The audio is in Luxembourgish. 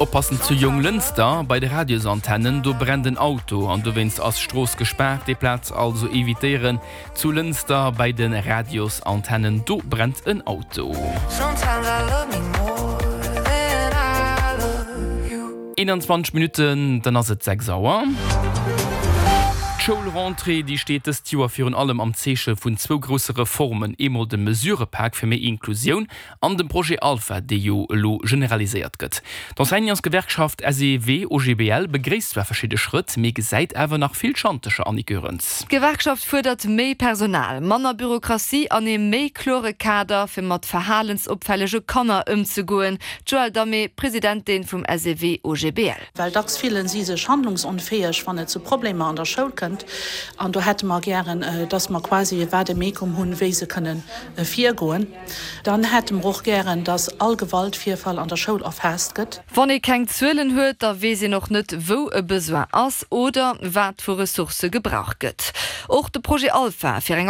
Oppassen zu Jonglënster bei de Radiosantennen, do brennt en Auto an dowéinst ass Strooss gespaart. Déi Plaz also evitéieren. Zu Lënster bei de Radiosantennen, do brennt en Auto. 21 Minutten, dann ass et 6 Auer. D'Schoulrentrée, déi steet dëst Joer virun allem am Zeeche vun zwou grousse Reformen, eemol dem Mesurëpak fir méi Inklusioun an dem Projet Alpha, dee jo elo generaliséiert gëtt. D'Enseignantsgewerkschaft SEW-OGBL begréisst zwar verschidde Schrëtt, mee gesäit awer nach vill Schantercher, Annick Goerens. D'Gewerkschaft fuerdert méi Personal, manner Bürokratie an ee méi klore Kader, fir mat verhalensopfällege Kanner ëmzegoen. D'Joëlle Damé, Presidentin vum SEW-OGBL. Well dacks fillen si sech handlungsonfäeg, wann et zu Problemer an der Schoul kënnt. An do hätte mer gären, dass mer quasi e Vademecum hunn, wéi se kënnen virgoen. Dann hätte mer och gären, dass all Gewaltvirfall an der Schoul erfaasst gëtt. Wann ee keng Zuelen huet, da weess een och net, wou e Besoin ass oder wat vu Ressourcë gebraucht gëtt. Och de Projet Alpha fir eng.